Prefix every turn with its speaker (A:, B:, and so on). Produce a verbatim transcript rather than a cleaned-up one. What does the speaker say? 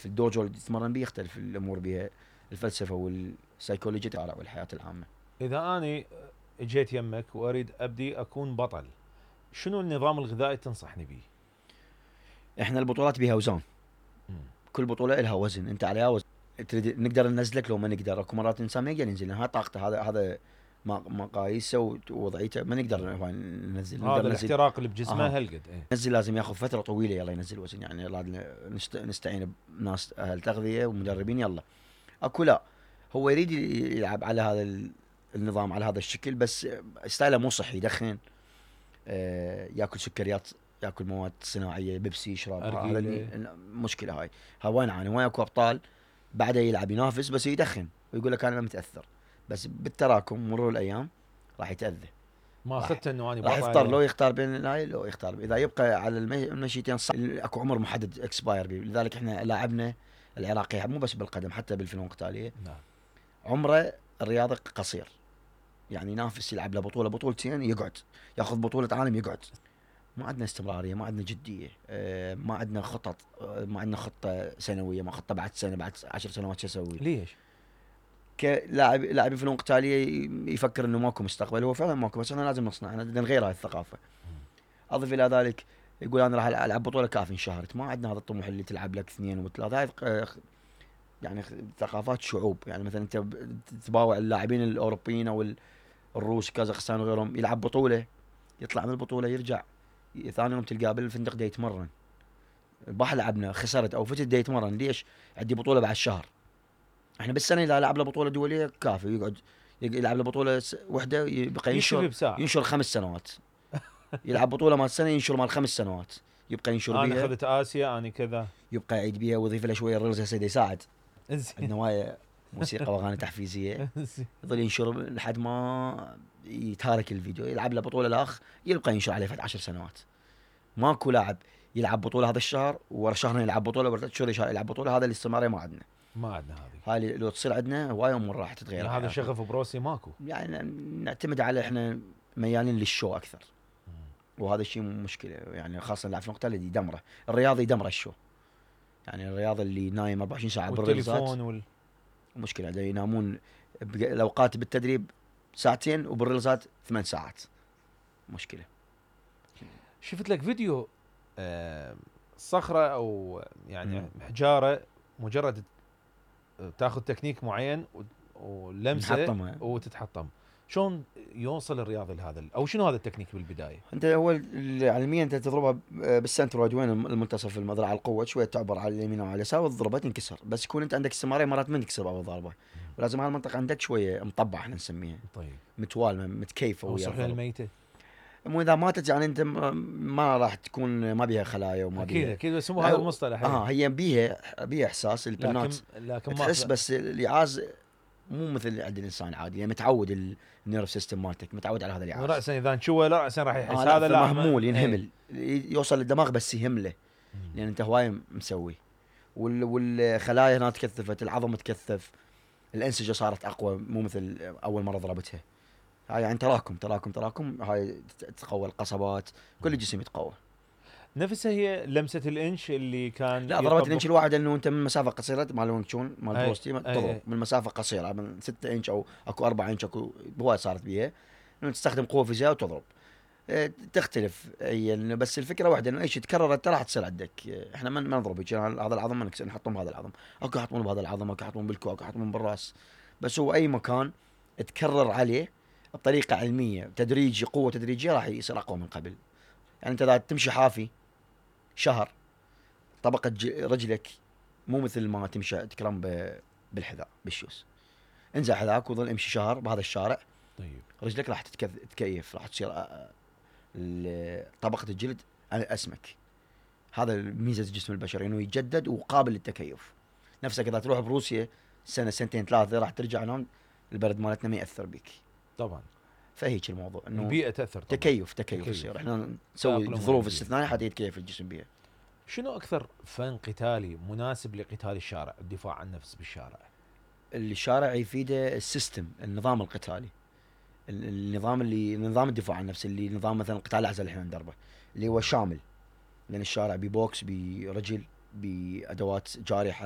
A: في الدوجو اللي تتمرن بيه يختلف الامور بها، الفلسفه والسيكولوجيا والحياه العامه.
B: اذا اني اجيت يمك واريد ابدي اكون بطل، شنو النظام الغذائي تنصحني به؟
A: احنا البطولات بها اوزان،
B: مم.
A: كل بطوله لها وزن، انت عليها وزن تريد نقدر ننزلك لو ما نقدر، اكو مرات الانسان ما يقدر ينزل، هاي طاقته، هذا هذا مقاييسه ووضعيته، ما نقدر ننزل.
B: هذا
A: نقدر ننزل
B: الاحتراق اللي بجسمه
A: آه.
B: هالقد ايه.
A: ننزل لازم ياخذ فتره طويله يلا ينزل وزن، يعني لازم نست... نستعين بناس اهل تغذيه ومدربين. يلا اكو لا، هو يريد يلعب على هذا النظام على هذا الشكل، بس ستايله مو صحي، يدخن، آه ياكل سكريات، ياكل مواد صناعيه، بيبسي يشرب، هذا مشكله. هاي هاي وين عاني، وين اكو ابطال بعده يلعب ينافس بس يدخن ويقول لك انا ما متاثر، بس بالتراكم مرور الايام راح يتاذى.
B: ما اخذت انه اني
A: راح يختار، لو يختار بين هاي لو يختار اذا يبقى على المشيتين صح. اكو عمر محدد اكسباير بيه، لذلك احنا لاعبنا العراقي مو بس بالقدم حتى بالفنون القتاليه
B: نعم
A: عمره الرياضي قصير، يعني ينافس يلعب له بطوله بطولتين يقعد، ياخذ بطوله عالم يقعد. ما عندنا استمراريه، ما عندنا جديه، ما عندنا خطط، ما عندنا خطه سنويه، ما خطه بعد سنه بعد عشر سنوات شو اسوي.
B: ليش؟
A: كلاعب لاعب فنون قتاليه يفكر انه ماكو مستقبل، هو فعلا ماكو، بس احنا لازم نصنع، احنا بدنا نغير هاي الثقافه. اضف الى ذلك يقول انا راح العب بطوله كافي انشهرت، ما عندنا هذا الطموح اللي تلعب لك اثنين وثلاثه. هاي يعني ثقافات شعوب، يعني مثلا انت تباوع اللاعبين الاوروبيين او الروس كازاخستان وغيرهم، يلعب بطوله يطلع من البطوله يرجع ثاني يوم تلقاه بالفندق دا يتمرن. الباح لعبنا خسرت او فتت دا يتمرن، ليش؟ عندي بطوله بعد شهر. احنا بالسنه اذا لعب له بطوله دوليه كافي يقعد يلعب له بطوله وحده يبقى ينشر ينشر خمس سنوات يلعب بطوله مال سنه ينشر مال خمس سنوات، يبقى ينشر بيها.
B: انا اخذت اسيا انا كذا،
A: يبقى يعيد بيها ويضيف له شويه الريلز هسه يساعد. عندنا هوايه موسيقى واغاني تحفيزيه، يظل ينشر لحد ما يتهارك الفيديو، يلعب له بطوله الاخ يبقى ينشر عليه فد عشر سنوات. ماكو لاعب يلعب بطوله هذا الشهر ورا شهرين يلعب بطوله ورا شهر يلعب بطوله، هذا الاستمراريه ما عندنا.
B: ما عندنا هذه.
A: هاي لو تصير عندنا هوايه امور راح تتغير.
B: يعني هذا شغف بروسي ماكو،
A: يعني نعتمد على احنا ميالين للشو اكثر، وهذا الشيء مشكله، يعني خاصه اللاعب في النقطه اللي يدمره الرياضي، يدمره الشو. يعني الرياضي اللي نايم أربعة وعشرين ساعه بالرياضات
B: وال...
A: مشكله، دا ينامون الاوقات بالتدريب ساعتين وبالرياضات ثمان ساعات، مشكله.
B: شفت لك فيديو آه صخره او يعني م. حجاره مجرد تاخذ تكنيك معين ولمسه وتتحطم، شلون يوصل الرياضي لهذا، او شنو هذا التكنيك بالبدايه؟
A: انت هو علميا انت تضربها بالسنتر وين المنتصف المذرع القوه، شويه تعبر على اليمين وعلى اليسار وتضربها تنكسر، بس يكون انت عندك استمراريه مرات ما تكسر اول ضربه، ولازم هالمنطقه عندك شويه مطبع احنا نسميها.
B: طيب
A: متوالمه متكيفه
B: ويا الضربه الميته.
A: مو اذا ماتت يعني انت ما راح تكون ما بيها خلايا وما
B: اكيد
A: بيها
B: اكيد بس مو هذا المصطلح.
A: اه هي بيها بيها احساس البنات
B: لكن لكن
A: ما تحس، بس الإعاز مو مثل عند الانسان عادي، يعني متعود النيرف سيستم مالتك متعود على هذا الإعاز.
B: راسا اذا نشوه لا راسا راح يحس
A: آه
B: هذا لا
A: مهمول ينهمل ايه. يوصل للدماغ بس يهمله لان يعني انت هواي مسوي، وال والخلايا هنا تكثفت، العظم تكثف، الانسجه صارت اقوى مو مثل اول مره ضربتها. هاي يعني تراكم تراكم تراكم، هاي تتقوى القصبات، كل الجسم يتقوى.
B: نفسها هي لمسه الانش اللي كان
A: لا ضربت الانش الواحد انه انت من مسافه قصيره مال وينغ تشون مال بروستي تضرب من مسافه قصيره من ستة انش او اكو أربعة انش اكو هواي صارت بيها انه تستخدم قوه فيزياء وتضرب. اه تختلف هي، بس الفكره واحده انه اي شيء تكرر انت راح تصير عندك. احنا ما نضرب هذا العظم ما نكسر، نحطهم بهذا العظم، اكو يحطون بهذا العظم، اكو يحطون بالكوع، اكو يحطون بالراس، بس هو اي مكان تكرر عليه بطريقه علميه تدريجي قوه تدريجيه راح يصير اقوى من قبل. يعني انت اذا تمشي حافي شهر طبقة رجلك مو مثل ما تمشي تكرم بالحذاء بالشوز، انزع حذاك وظل امشي شهر بهذا الشارع.
B: طيب
A: رجلك راح تتكيف، راح تصير طبقة الجلد اسمك. هذا ميزة الجسم البشري انه يتجدد وقابل للتكيف. نفسك اذا تروح بروسيا سنة سنتين ثلاثة راح ترجع هنا البرد مالتنا ما يأثر بك
B: طبعا.
A: فهيك الموضوع انه
B: البيئة تأثر طبعا.
A: تكيف تكيف يصير، احنا نسوي ظروف استثنائية حتى يتكيف الجسم بها.
B: شنو أكثر فن قتالي مناسب لقتال الشارع، الدفاع عن النفس بالشارع؟
A: الشارع يفيده السيستم، النظام القتالي، النظام اللي نظام الدفاع عن النفس اللي نظام مثلا قتال الأعزة اللي احنا ندربه اللي هو شامل، لأن الشارع ببوكس برجل بأدوات جارحة